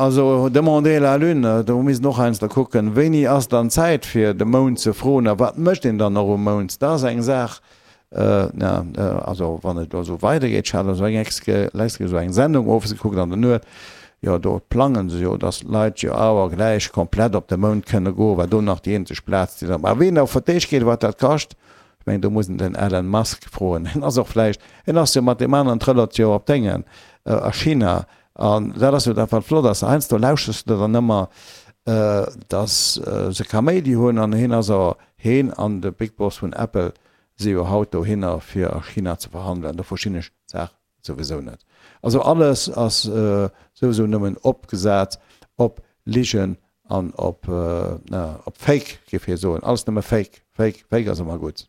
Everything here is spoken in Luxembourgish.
also demander la lune, do misst een och heiansdo kucken, wéini ass dann Zäit fir de Mound ze froen a wat mécht een dann och um Mound? Dat ass eng Saach, na, also wann et elo esou weidergeet, ech hat esou eng exke esou eng Sendung owes gekuckt an der Nuet, jo do plangen se jo, datt d'Leit jo awer gläich komplett op de Mound kënne goen, well do nach déi eenzeg Plaz déi dann, mä ween op Verdeeg geet, wat dat kascht, ech mengen do muss een den Elon Musk froen, hien ass och vläicht, hien ass jo mat deem aneren trëllert jo op Déngen a China an dat ass jo dat wat flott ass, heiansdo lauschters de dann ëmmer, datt se Kaméidi hunn an hien ass awer, hien an de Big Boss vun Apple si jo haut dohinner fir a China ze verhandelen, do verstinn ech d'Saach souwisou net. Also alles ass souwisou nëmmen opgesat op Ligen an op, op Fake, géif hie soen. Alles nëmme Fake, Fake, Fake ass ëmmer gutt.